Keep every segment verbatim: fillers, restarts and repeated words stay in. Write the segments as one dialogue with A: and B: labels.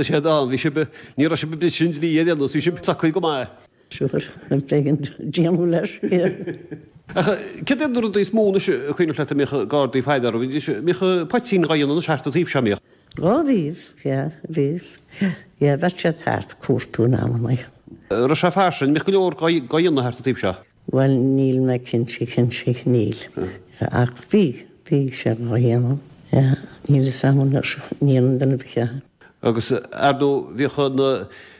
A: Theastaigh siad ann, bhí sibh, ní raibh sibh ag briseadh an dlí ar aon nós, bhí sibh socair go maith.
B: Sure, b'éigean déanamh leis.
A: Ach céard iad na rudaí is mó anois a cuimhneach leat a mbíodh Gardaí faire orthu? Bhídís, mbíodh poitín dhá dhéanamh anois thart an taobh seo, mbíodh?
B: Ó bhíodh, yeah, bhíodh. Yeah, bheadh siad thart ag cuartú in amannaí.
A: Raibh sé fairsing, mbíodh go leor dhá dhéanamh thart an taobh seo?
B: Bhuel, níl mé cinnte, cinnte, níl. Ach bhí, bhí sé dhá dhéanamh, yeah. Níl fhios a'm anois, ní dhéanann duine ar bith é.
A: Agus, ar ndóigh, bhíodh na,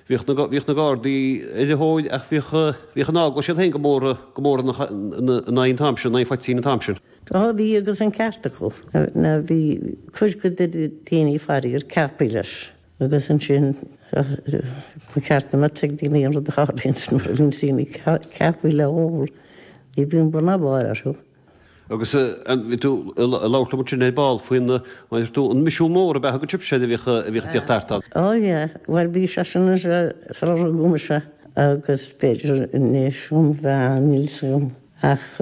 A: bhíodh na, bhíodh na Gardaí ar a thóir ach bhíodh, bhíodh an eaglais iad féin go mór, go mór ina, ina, ina aghaidh an t-am sin, in aghaidh phoitín an t-am sin.
B: Á bhí agus an ceart acu. Ná bhí cuid de na daoine faraor ceaptha leis agus ansin ba cheart go mbeadh ag daoine an rud a tharlaíonn nuair a bhíonn daoine ceaptha le ól, ní bhíonn bun ná barr orthu.
A: Agus bhí tú ag labhairt liom ansin ar ball faoin, mar a deir tú, an misiún mór ab ea a thug sibhse air a bhíodh a bhíodh ag tíocht thart ann.
B: Ó yeah, bhuel bhí seisean anseo sular rugadh mise agus b'fhéidir anois um mheán, níl 'fhios agam ach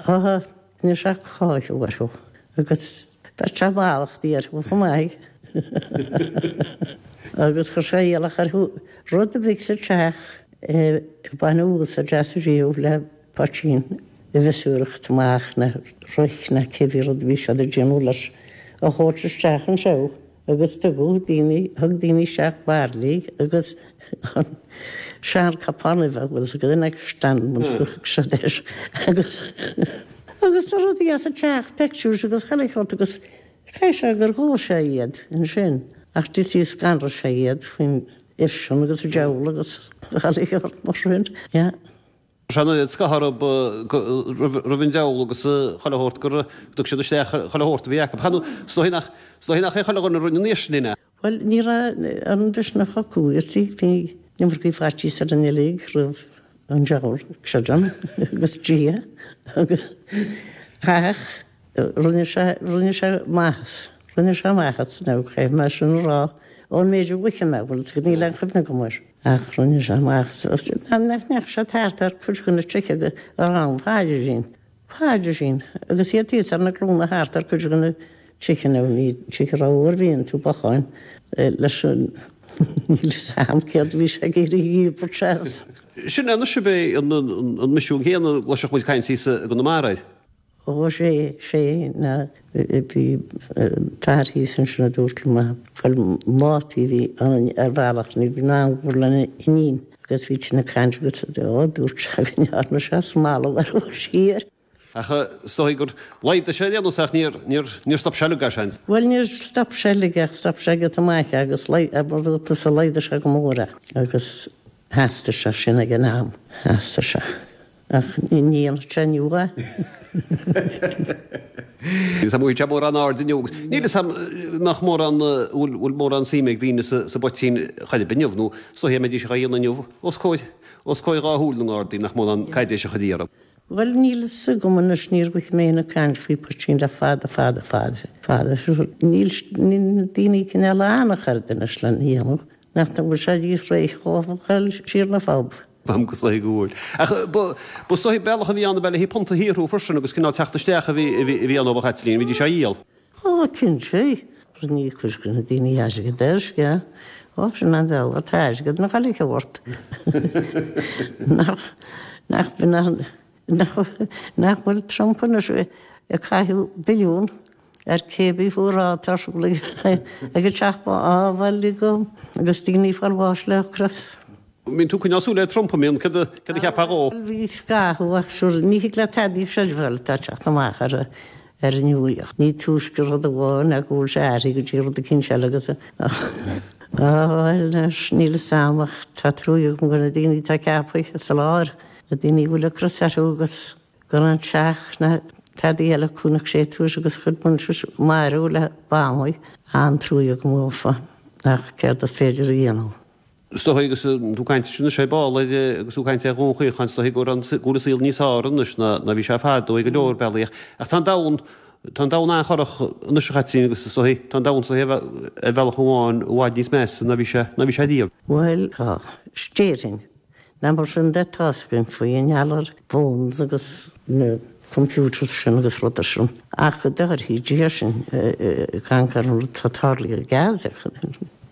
B: á rinne sé cáitheadh orthu agus bheir sé mallachtaí orthu chomh maith agus chuir sé iallach orthu rud a bhí sa teach a baineadh úsáid as riamh le poitín a mhiosúireacht amach ná roic ná cibé rud a bhí siad ag déanamh leis a thabhairt isteach anseo agus tugadh daoine, thug daoine isteach bairillí agus an sean-chupán uibhe, bhfuil 'fhios agat, an stand mar a thug siad air agus agus na rudaí as an teach, pictures agus chuile shórt agus chaith sé gur dhóigh sé iad ansin ach d'ith scanraigh sé iad faoin uibh sin agus an diabhal agus chuile shórt mar sin, yeah.
A: Sé an oiread scáth orthu roimh an diabhal agus chuile shórt gur thug siad isteach chuile shórt a bhí acu. Chan, is dóigh nach, is dóigh nach é chuile dhuine a rinne an fhaoistin é.
B: Bhuel, ní raibh an mhisneach acu, you see, bhí an iomarcaí faitíos orainn uilig roimh an diabhal, creidim, agus Dia, agus ach rinne sé, rinne sé maitheas, rinne sé maitheas, now caithfidh mé sin a rá, ón méid a mhothaigh mé, bhuel, níl aon chuimhne agam air. Ach rinne sé amach nach ndeachaigh sé thart ar cuid de na tithe a raibh ann, Pádraigín, Pádraigín, agus iad thíos ar na glúine thart ar cuid de na tithe nó ní tithe a raibh uair bhíonn tú bocháin leis an níl 'fhios a'm céard a bhí sé ag iarraidh a dhíbirt as.
A: Sin é anois ab é an misiún céanna a gcloisfeadh muid caint thíos i gConamara air.
B: Ó sé, sé ná bhí fear thíos ansin a dúirt liom, bhuel Mátaí a bhí ann ar bhealach, ní bhí in ann gur lena iníon agus bhí tine caint agus ó dúirt sé go ndearna sé smalladh orthu siar.
A: Ach is dóigh gur laghdaigh sé ar aon nós ach níor, níor, níor stop sé uilig, seans.
B: Bhuel níor stop sé uilig ach stop sé giota maith agus mar a dúirt tusa laghdaigh sé go mór é agus theastaigh sé sin ag an am, theastaigh sé. Ach ní dhéanfadh sé inniu é.
A: Níl 'fhios a'm bhfuil sé mórán airde inniu agus níl 'fhios a'm nach mórán, bhfuil bhfuil mórán suime ag daoine sa sa bpoitín chor ar bith inniu nó is dóiche dá mbeidís á dhéanamh inniu os comhair os comhair dhá shúil na nGardaí nach mórán caidéis a chuirfí orthu.
B: Bhuel níl 'fhios agam anois níor mhothaigh mé ag caint faoi poitín le fada fada fada fada. Níl níl na daoine cineál an-chorda anois lena dhéanamh nach bhfuil sé níos réidh dhóibh a dhul siar na phub.
A: B'am go saoth go bhfuil. Ach ba is dóigh bealach a bhí ann ab ea le haghaidh punt a shaothrú freisin agus cineál teacht isteach a bhí a bhí ann ó ba Chaitlín, bhídís á dhíol.
B: Ó, cinnte. Rinne cuid de na daoine airgead air, yeah. Ó, sin an bealach, tá airgead na caillte ort. Nach, nach, nach, nach bhfuil Trump anois ag caitheamh billiún ar cébí fuará atá ar siúl ag an Teach Bán, á bhuel, agus daoine ag fáil bháis le hocras.
A: Mbíonn tú ag coinneáil súil ar Trump, an mbíonn? Céard a céard a cheapfá dhó?
B: Bhí scaitheamh ach sure ní thig leat tada a chreidbheáil atá ag teacht amach ar ar an nuaíocht. Ní túisce rud amháin ná go bhfuil sé athraithe go dtí rud eicínt eile agus á bhuel anois níl 'fhios a'm ach tá truaighe agam do na daoine atá ceaptha sa lár, na daoine a bhfuil ocras orthu agus gan aon teach ná tada eile acu nach sé tuairisc agus chuid muintir marbh le bannaí. An-truaighe agam dhófa ach céard is féidir a dhéanamh?
A: Is dóigh agus tú ag caint anois ar ball ar agus tú ag caint ar Dhún Chaocháin, is dóigh go bhfuil an saol níos fearr anois ná ná bhí sé fadó i go leor bealaí ach ach tá an domhan tá an domhan an-chorrach anois a Chaitlín agus is dóigh tá an domhan is dóigh ar bhealach amháin i bhfad níos measa ná bhí sé ná bhí sé riamh.
B: Bhuel, tá, déarfainn. Ná mar sin de tá's againn faoi i ngeall ar phones agus na computers sin agus rudaí sin ach go dtabharfaidh Dia sinn ag amharc ar an rud atá tarlaithe i Gaza.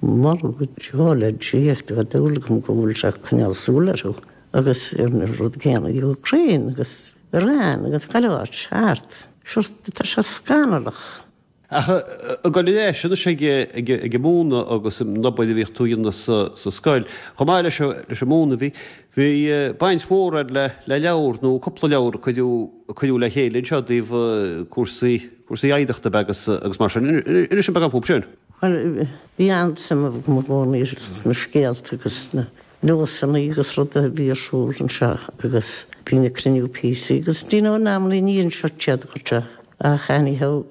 B: Moladh go deo le Dia tá dúil agam go bhfuil sé ag coinneáil súil orthu agus ar an rud céanna Ukraine agus Iran agus chuile áit thart. Sure tá sé scannalach.
A: Ach ag dul ar ais anois ag ag an múineadh agus an obair a bhíodh tú a dhéanamh sa sa scoil. Chomh maith leis leis an múineadh bhí bhí baint mhór agat le le leabhar nó cúpla leabhar a cuireadh a cuireadh le chéile anseo i dtaobh cúrsaí cúrsaí oidhreachta agus agus mar sin. Inis an beagán fúthu sin.
B: Bhuel bhí an-suim agam i gcónaí sna scéalta agus sna nósanna agus rudaí a bhí ar siúl anseo agus bhí na cruinniú píosaí agus do you know in amannaí ní anseo siad go teach ach anyhow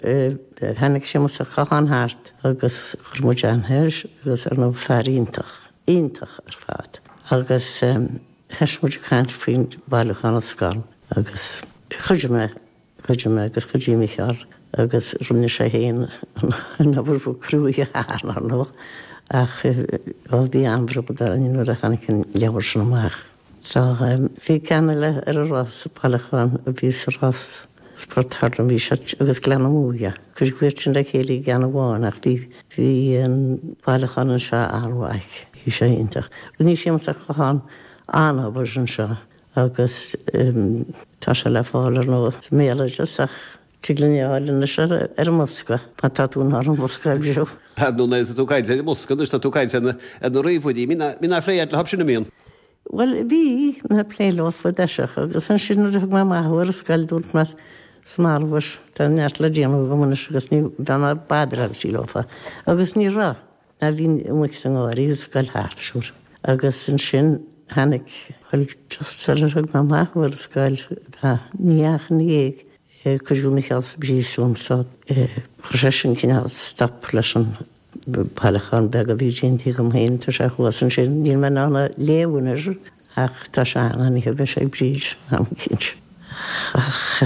B: tháinig Séamus Ó Catháin thart agus chuir muid aithne air agus ar ndóigh fear iontach, iontach ar fad. Agus thosaigh muid ag caint faoin bailiúchán na scol agus chuidigh mé, chuidigh mé agus chuidigh Micheál agus rinne sé féin an obair ba cruaidhe ar ndóigh ach bhí an-bhród orainn nuair a tháinig an leabhar sin amach. So bhí ceann eile ar an Ros, bailiúchán a bhí sa Ros, Port Thurlaim, bhí sé agus Gleann na Muaidhe. Cuireadh iad sin le chéile i gceann amháin ach bhí bhí an bailiúchán anseo an-mhaith, bhí sé iontach. Rinne Séamus Ó Catháin an-obair anseo agus tá sé le fáil ar ndóigh sa mbéaloideas ach tig linn é a fháil anois ar an mbosca, má tá tú in ann an bosca a aimsiú.
A: Ar ndóigh nuair atá tú ag caint ar an mbosca anois tá tú ag caint ar na ríomhairí. Mbíonn aon phlé agat leo sin an mbíonn?
B: Bhuel bhí mé ag plé leo i dtosach agus ansin nuair a thug mé amach thú ar an scoil dúirt mé 's marbhais tá neart le déanamh agam anois agus ní bheidh mé ag badráil leofa agus ní raibh ná bhí amuigh sa ngarraí an scoil thart sure. Agus ansin tháinig bhuel just sular thug mé amach thú ar an scoil ní ach ina dhiaidh Cuireadh Micheál sa bpríosún so chuir sé sin cineál stop leis an bailiúchán beag a bhí déanta agam féin. Tá sé thuas ansin, níl mé in ann a léamh anois ach tá sé ann, anyhow, beidh sé ag Bríd am eicínt. Ach.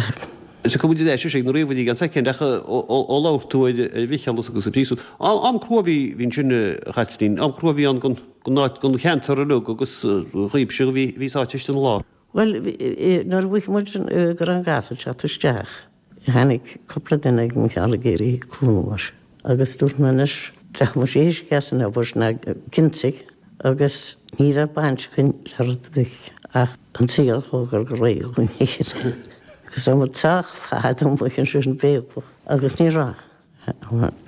A: Tiocfaidh muid ar ais ag na ríomhairí i gceann soicind ach ó labhair tú ar Mhicheál agus an príosún, am crua a bhí ansin a Chaitlín, am crua a bhí ann don áit, don cheantar uilig agus dhaoibhse a bhí sáite istigh ina lár.
B: Bhuel, nuair a mhothaigh muid go raibh an gás ag teacht isteach, tháinig cúpla duine ag Micheál ag iarraidh cúnamh uaidh agus dúirt mé anois, bheadh muid éisc as an obair ná cinntigh agus ní bheadh baint againn le rud ar bith ach an saol a thógáil go réidh dhúinn féin. Agus tá muid sách fada amuigh ansin béiceach agus ní raibh.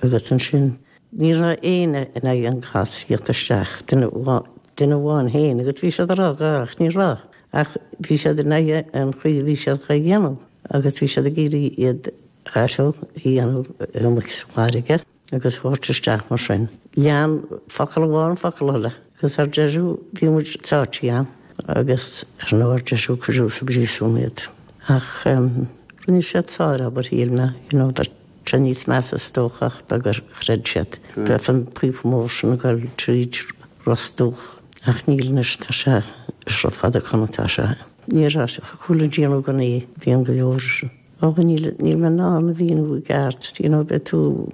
B: Agus ansin ní raibh éinne in aghaidh an gás a theacht isteach, duine duine amháin féin agus bhí siad ag rá go raibh ach ní raibh. Ach bhí siad in aghaidh an chaoi a bhí siad dhá dhéanamh agus bhí siad ag iarraidh iad a dhéanamh amuigh sa bhfarraige agus a thabhairt isteach mar sin. Lean focal amháin focal eile agus ar deireadh bhí muid sáite ann agus ar ndóigh ar deireadh cuireadh sa bpríosún iad. Ach rinne siad sárobair shíl mé, you know, bheadh sé níos measa is dócha ach beag gur chreid siad. Bheadh an píopa mór sin ag dul tríd Ros Dumhach ach níl anois, tá sé is rud fada chun atá sé. Ní raibh thiocfadh linn déanamh gan é, bhí an go leor. Ó níl níl mé in ann a mhíniú i gceart, you know, beidh tú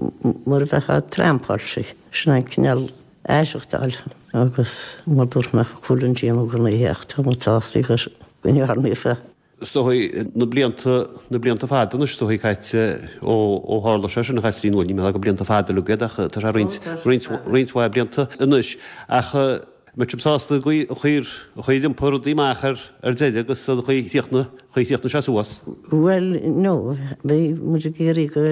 B: mar a bheifeá trampáilte, sin an cineál aireachtáil agus mar dúirt mé thiocfadh linn déanamh gan é ach tá muid sásta go ndearna é.
A: Is dóigh na blianta, na blianta fada anois is dóigh caite ó ó tharla sé sin a Chaitlín, bhuel ní mé go blianta fada uilig iad ach tá sé roinnt, roinnt, roinnt mhaith blianta anois. Ach mbeidh sibh sásta an chaoi, an chaoi, an chaoi ar iompaigh rudaí amach ar ar deireadh agus an chaoi chríochnaigh, chaoi chríochnaigh sé suas?
B: Bhuel no, bhí muid ag iarraidh go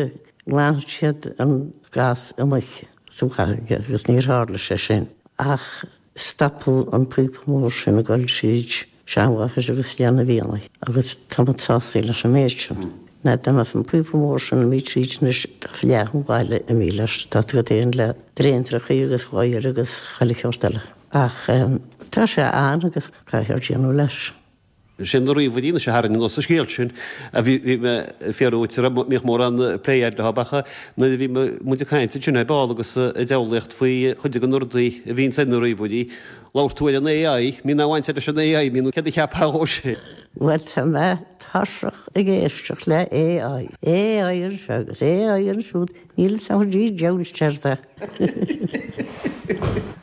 B: nglanfadh siad an gás amuigh sa bhfarraige agus níor tharla sé sin. Ach stopadh an píopa mór sin ag dul tríd Seanmháthair agus Gleann an Mhianaigh agus tá muid sásta leis an méid sin. Ná dá mbeadh an píopa mór sin imithe tríd anois bheadh leath an bhaile imithe leis, tá tú agat féin le tréantrachaí agus oighear agus chuile sheort eile. Ach tá sé ann agus caithfear déanamh leis.
A: Sin na ríomhairí anois a tharraing anuas an scéal sin a bhí bhí mé ag fiafraí dhuit an mbíodh mórán plé agat leo ach nuair a bhí muid ag caint ansin ar ball agus ag diabhlaíocht faoi chuid de na rudaí a bhíonns ar na ríomhairí, labhair tú ar an AI, mbíonn aon bhaint agat leis an AI, mbíonn céard a cheapfá dhó sin?
B: Bhuel tá mé tuirseach ag éisteacht le AI, AI anseo agus AI ansiúd, níl a fhios agam cad é deabhal céard é.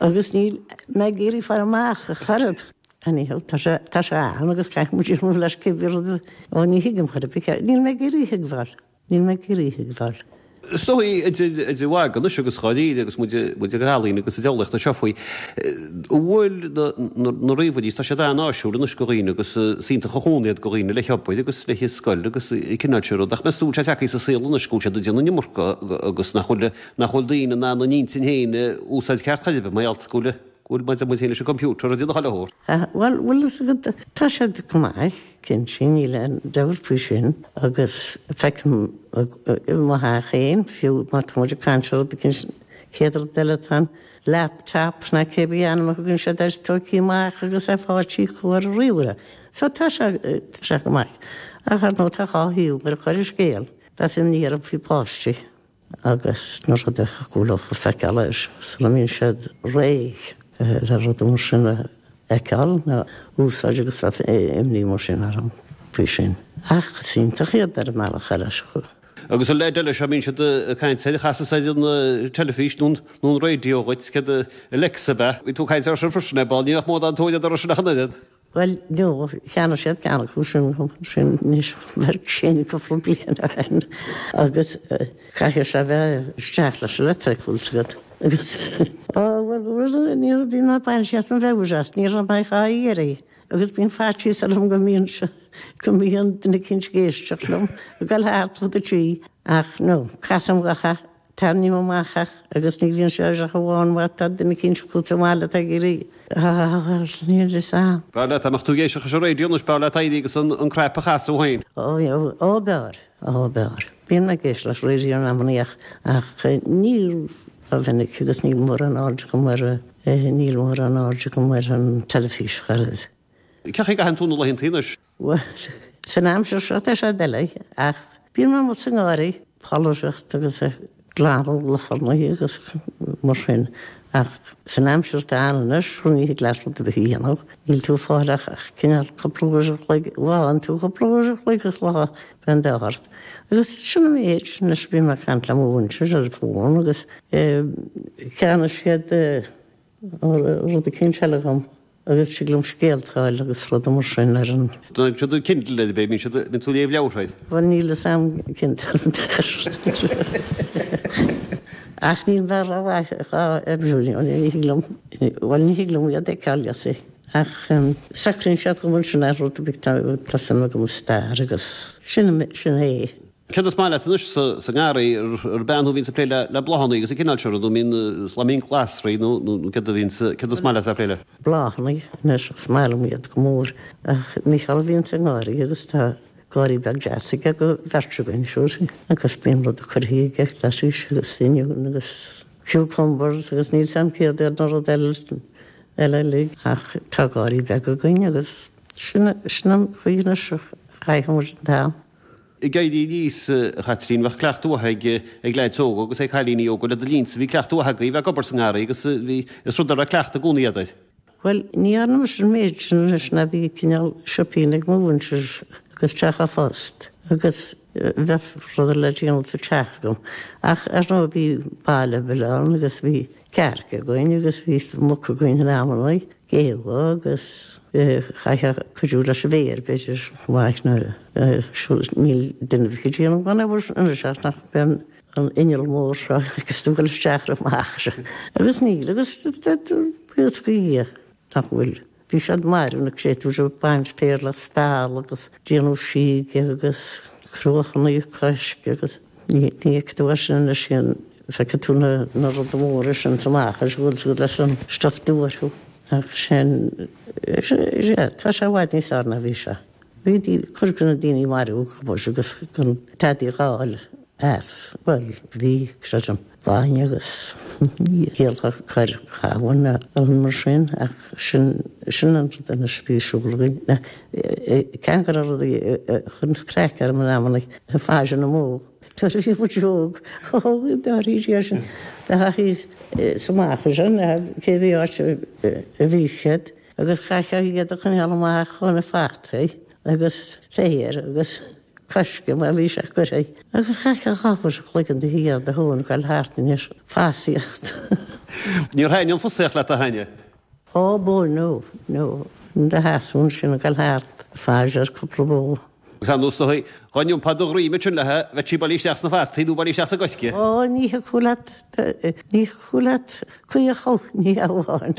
B: Agus níl mé ag iarraidh fáil amach ach oiread. Anyhow, tá sé, tá sé ann agus caithfidh muid déanamh leis cibé rud, ó ní thuigim chor ar bith, níl mé ag iarraidh a thuigbheáil, níl mé ag iarraidh a thuigbheáil.
A: Is dóigh idir mhagadh anois agus dháiríre agus muid muid ag ealaín agus ag eolaíocht anseo faoi, an bhfuil na ríomhairí, tá siad an-áisiúil anois go dhaoine agus is iontach an cúnamh iad go dhaoine le hobair agus le scoil agus cineál sin rud, ach meas tú bhfuil sé tagtha sa saol anois go bhfuil siad ag déanamh an iomarca agus nach bhfuil nach bhfuil daoine in ann a n-intinn féin a úsáid ceart chor ar bith mar gheall go bhfuil go bhfuil muid muid féin leis an gcomputer ag déanamh chuile shórt.
B: Bhuel, bhfuil fhios agat, tá siad go maith, cinnte, níl aon dabht faoi sin, agus feicim i mo theach féin, fiú má tá muid ag caint ar rud éicint, chéad rud eile tá an laptop ná cébí ainm a thugann siad air tógtha amach agus é fáilte acu ar an ríomhaire. So tá sé, tá sé go maith. Ach ar ndóigh tá dhá thaobh ar chuile scéal. Bheadh imní orm faoi pháistí. Agus na rudaí a thiocfadh leo a feiceáil air sula mbíonn siad réidh le rudaí mar sin a fheiceáil nó úsáid agus bheadh imní mar sin orm faoi sin. Ach is iontach iad ar an mbealach eile.
A: Agus an leid eile seo, mbíonn siad ag caint air, chasas ar an teilifís nó an raidió dhuit, céard Alexa ab ea? Bhí tú ag caint air sin freisin ar ball, ní bheadh mórán tóir orthu sin ach an oiread.
B: Bhuel, no, cheannaigh siad ceann acu sin sin anois bheadh sin cúpla bliain ó shin agus caithfidh sé bheith isteach leis an leictric bhfuil fhios agat agus Ó bhuel bhuel ní raibh bhí mé ag baint as mo mheabhair as ní raibh mé dhá iarraidh agus bíonn faitíos orm go mbíonn sé go mbíonn duine eicínt ag éisteacht liom ag dul thart fud an tí ach no casaim gach Tarraingím amach ach agus ní bhíonn sé ach amháin má tá duine eicínt acu sa bhaile atá ag iarraidh níl fhios a'm.
A: B'fhearr leat dá mbeadh tú ag éisteacht leis an raidió anois, b'fhearr leat éirí agus an crap a chasadh féin.
B: Ó, ó b'fhearr, ó b'fhearr. Bíonn mé ag éisteacht leis an raidió in amannaí ach ach ní rómhinic agus níl mórán aird agam ar, níl mórán aird agam ar an teilifís chor ar bith.
A: Cén chaoi a gcaitheann tú na laethanta anois?
B: Bhuel, san aimsir seo tá sé doiligh ach bíonn mé amuigh sa ngarraí, polaireacht agus glanadh luchógaí agus mar sin ach san aimsir atá ann anois ní thig leat rud ar bith a dhéanamh, níl tú ag fáil ach cineál cúpla uair an chloig, bhfághann tú cúpla uair an chloig is lá bíonn d'ádh ort. Agus sin an méid, anois bím ag caint le mo mhuintir ar an bhfón agus cheannaigh siad rud eicínt eile dhom. Agus tig liom scéalta a fháil agus rudaí mar sin ar an.
A: Tá siad Kindle ar bith, bíonn siad, bíonn tú ag léamh leabhartha air.
B: Bhuel níl fhios a'm Kindle Ach níl mé rómhaith dhá oibriú, ní thig liom, bhuel ní thig liom iad a fheiceáil you see. Ach socraíonn siad go bhfuil sin ar rud ar bith, tá suim agam i stair agus sin, sin é.
A: Céard is maith leat anois sa ngarraí, ar bean thú a bhíonns ag plé le bláthanna agus an cineál seo ruda, an mbíonn glasraí nó céard a bhíonns, céard is maith leat bheith ag plé le?
B: Bláthanna anois, is maith liom iad go mór ach Mícheál a bhíonns sa ngarraí agus tá garraí beag deas aige go bheirt againn siúd agus bíonn rud curtha aige, lettuce agus oinniún agus cucumbers agus níl 's a'm céard iad na rud eile eile uilig ach tá garraí beag againn agus sin sin an chaoi anois a chaitheann muid an t-am.
A: Ag éirí aníos, a Chaitlín, bheadh cleachtadh mhaith ag ag leaids óga agus ag cailíní óga le do linnse, bhí cleachtadh mhaith agaibh bheith ag obair sa ngarraí agus bhí, is rud a raibh cleachtadh i gcónaí agat air.
B: Bhuel, ní dhearna mise an méid sin anois ná bhí cineál sioipín ag mo mhuintir agus teach a' phost agus bheadh rudaí le déanamh sa teach agam. Ach ar ndóigh bhí baile beag ann agus bhí cearca againn agus bhí muc againn in amannaí, géabha agus chaithfeá cuidiú leis an bhféar b'fhéidir chomh maith nuair a níl duine ar bith ag déanamh gan obair anois ach nach mbíonn an inneall mór seo agus tú ag dul isteach ar amach agus níl agus buíochas do Dhia nach bhfuil. Bhí siad marbh na créatúir ag baint féir le speal agus déanamh síoga agus cruachanna coisc agus ní fheicfidh tú é sin anois feicfidh tú na na rudaí móra sin amach is go bhfuil siad leis an stuif dubh orthu ach sin tá sé i bhfad níos fearr ná bhí sé. Bhí cuid de na daoine marbh acu agus gan tada a dh'fháil as. Bhuel, bhí, creidim, bainne agus ialta cur cabhain nó mar sin ach sin sin an rud anois a bhí ar siúl againn. Ceann de na rudaí a chuireanns craic orm in amanna, faire na mbó. Nuair a bhí muid óg, ó, dáiríre sin, na hachaí sa amach sin, cé bhí áit a bhí siad agus chaithfeá iad a choinneáil amach ó na fataí agus féar agus coisce mar bhí sé curtha agus chaithfeá dhá uair a chloig in do shuí do thóin ag dul thart anois fosaíocht.
A: Níor thaitin an fosaíocht leat a thaitin?
B: Ó bó no, no, in do sheasamh ansin ag dul thart, faire ar cúpla bó.
A: Agus ar ndóigh is dóigh, dhá n-iompá do dhroim ansin léithe, bheadh sí bailithe isteach sna fataí nó bailithe isteach sa gcoirce.
B: Ó, ní thiocfadh leat, ní thiocfadh leat caochadh, ní amháin.